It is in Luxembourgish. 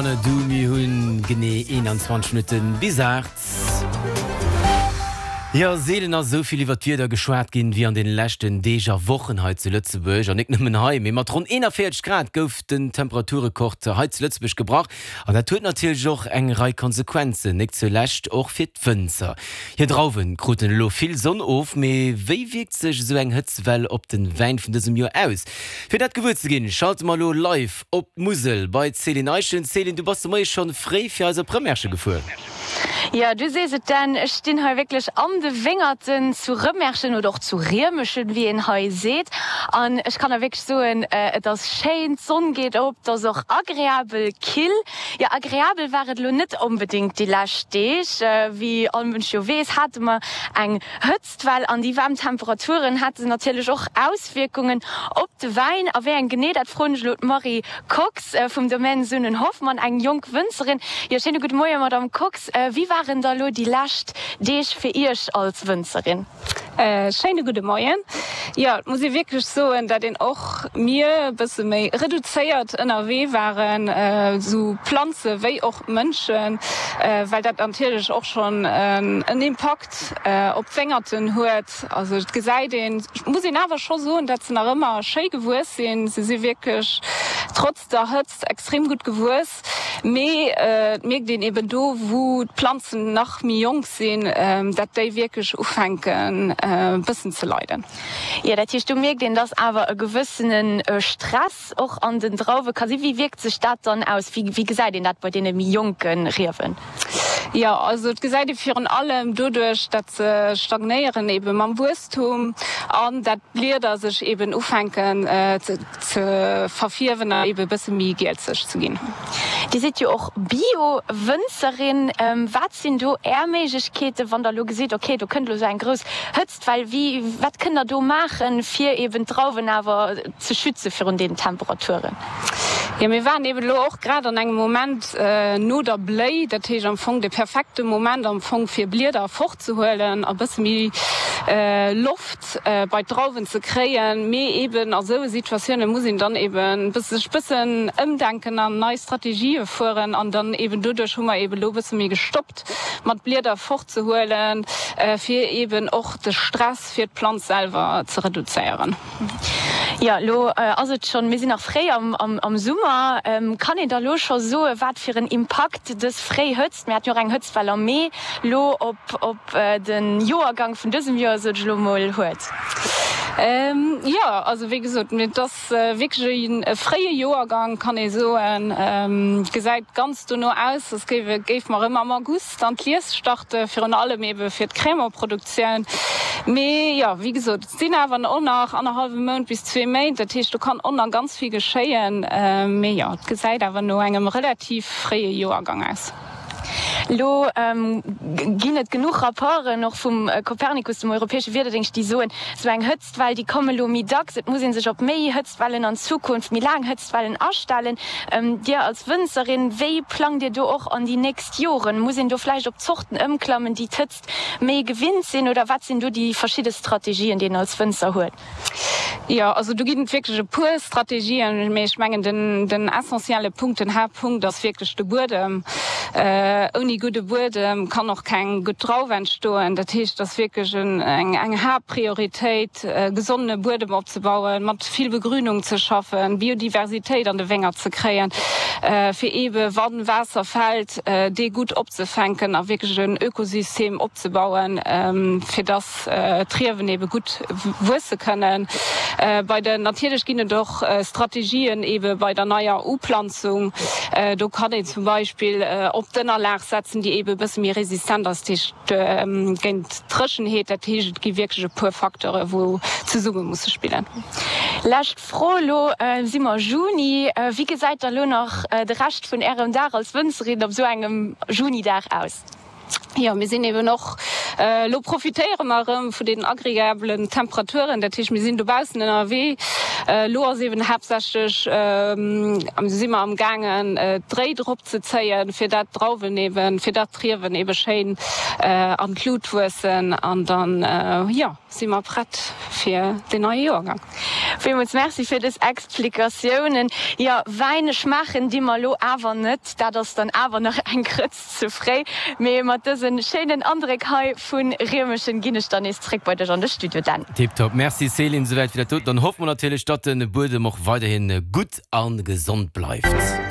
Du, mir hunn genee 21 Minutten bis 8. Jo, seelen ass esou vill iwwer d'Wieder geschwat ginn, wéi an den leschten Deeg a Wochen hei zu Lëtzebuerg. An nik nëmmen hei, mee mat ronn 41 Grad gouf den Temperaturrekord hei zu Lëtzebuerg gebrach. An dat huet natierlech och eng Rei Konsequenzen, nik zulescht och fir d'Wënzer. Hir Drauwen kruten elo vill Sonn of, mee wéi wierkt sech esou eng Hëtztwell op den Wäin vun dësem Joer aus? Fir dat gewuer ze ginn, schalte mer elo live Op d'Musel bei d'Céline Eischen. Céline, du bass de Moie schonn fréi fir eis op Rëmerschen gefuer. Jo, du sees et Dan, ech stinn hei wierklech an de Wéngerten zu Rëmerschen oder och zu Riemeschen, wéi een hei seet. An ech kann der wierklech soen, et ass schéin, d'Sonn geet op, et ass och agreabel kill. Jo, agreabel war et elo net onbedéngt déi lescht Deeg. Wéi all Mënsch jo weess, hate mer eng Hëtzt. Well an déi waarm Temperaturen hate natierlech och Auswierkungen op de Wäin. A wéi eng genee, dat froen ech elo d'Marie Kox vum Domaine Sunnen-Hoffmann, eng jonk Wënzerin. Jo, schéine gudde Moien, Madamm Kox. Wéi waren da elo déi lescht Deeg fir Iech als Wënzerin? Schéine gudde Moien. Jo, et muss ee wierklech soen, dat een och mir e bësse méi reduzéiert ënnerwee waren, esou Planze wéi och Mënschen, well dat natierlech och schonn en Impakt op d'Wéngerten huet. Also et gesäit een, et muss een awer scho soen, dat se nach ëmmer schéi gewuess sinn. Se si wierklech trotz der Hëtzt extrem gutt gewuess. Mee et mierkt een eben do, wou d'Planzen nach méi jonk sinn, dat déi wierklech ufänken e bëssen ze leiden. Jo, dat heescht, do mierkt een, dass awer e gewëssene Stress och an den Drauwe ka sinn. Wéi wierkt sech dat dann aus? Wéi gesäit een dat bei deene méi jonke Riewen? Jo, also et gesäit ee virun allem doduerch, dat se stagnéieren ebe mam Wuesstum an dat d'Blieder sech eben ufänken ze verfierwen an ebe bësse méi gielzeg ze ginn. Dir sidd jo och Bio-Wënzerin. Wat sinn do Är Méiglechkeeten, wann Der elo gesitt, okay, do kënnt elo esou eng grouss Hëtztwell? Wéi, wat kënnt Der do maachen, fir eben d'Drauwen awer ze schütze virun deenen Temperaturen? Jo, mir waren eben elo och grad an engem Moment no der Bléi, dat heescht am Fong de perfekte Moment am Fong fir Blieder fortzehuelen a bësse méi Loft bei d'Drauwen ze kréien. Mee eben a sou Situatioune muss een dann eben sech bëssen ëmdenken an nei Strategië fueren an dann eben doduerch hu mer eben elo bësse méi gestoppt mat Blieder fortzehuelen, fir eben och de Stress fir d'Planz selwer ze reduzéieren. Jo, elo ass et schonn, mir sinn nach fréi am Summer. Kann een da lo scho soen, wat fir en Impakt dës fréi Hëtzt, mir haten jo och eng Hëtztwell am Mee, lo op de Joergang vun dësem Joer, sot ech elo mol, huet? Jo, also wéi gesot, et ass wierklech e fréie Joergang, kann ee soen. Et gesäit ganz dono aus, als géife mer erëm am August Dann d'Lies starte virun allem ebe fir d'Crémant-Produktioun. Mee jo, wéi gesot, et sinn awer och nach annerhallwe Mount bis zwee Méint, dat heescht do kann och nach ganz vill geschéien. Mee jo, et gesäit awer no engem relativ fréie Joergang aus. Elo ginn et genuch Rapporten, och vum Copernicus, dem europäesche Wiederdéngscht, déi soen, esou eng Hëtztwell, déi komme elo méi dacks, et muss ee sech op méi Hëtztwellen an Zukunft, méi laang Hëtztwellen astellen. Dir als Wënzerin, wéi plangt Dir do och an déi nächst Joren? Muss een do vläicht op Zorten ëmklammen, déi d'Hëtzt méi gewinnt sinn oder wat sinn do déi verschidde Strategien, déi een als Wënzer huet? Jo, also do ginn et wierklech e puer Strategien, mee ech mengen den, den essentielle Punkt, den Haaptpunkt ass wierklech de Buedem. Ouni gudde Buedem kann och keng gutt Drauf entstoen. Dat heescht, et ass wierklech eng, eng Haaptprioritéit, e gesonne Buedem opzebauen, mat vill Begrünung ze schaffen, Biodiversitéit an de Wéngert ze kréien, fir eebe wa Waasser fält, dee gutt opzefänken a wierklech en Ökosystem opzebauen, fir dass d'Riewen eebe gutt wuesse kënnen. Bei den, natierlech ginn et och Strategien eebe bei der neier Uplanzung. Do kann een zum Beispill op d'Ënnerlag setzen, déi eebe e bësse méi resistent ass, dat heescht géint d'Dréchenheet. Dat heescht, et gi wierklech e puer Facteure wou zesumme musse spillen. Lescht Fro, Elo si mer Juni. Wéi gesäit da lo nach de Rescht vun Ärem Dag als Wënzerin op esou engem Junidag aus? Jo, mir sinn eben och, elo profitéiere mer erëm vun deenen agreabelen Temperaturen, dat heescht mir sinn dobaussen ënnerwee. Elo ass eben haaptsächlech, si mer am gaangen d'Réi drop ze zéien, fir dat d'Drauwen eben, fir dat d'Riewen ebe schéin an d'Lut wuessen an dann, jo. Si mer prett fir den neie Joergang? Villmools Merci fir dës Explikatiounen. Jo, Wäin schmaachen di mer elo awer net, dat ass dann awer nach eng Grëtz ze fréi. Mee mat dëse schéinen Andréck hei vu Riemeschen ginn ech dann nees zréck bei dech an de Studio, Dan. Tiptop, Merci Céline, souwäit fir dat doten. Dann hoffe mer natierlech, datt de Buedem och weiderhin gutt a gesond bleift.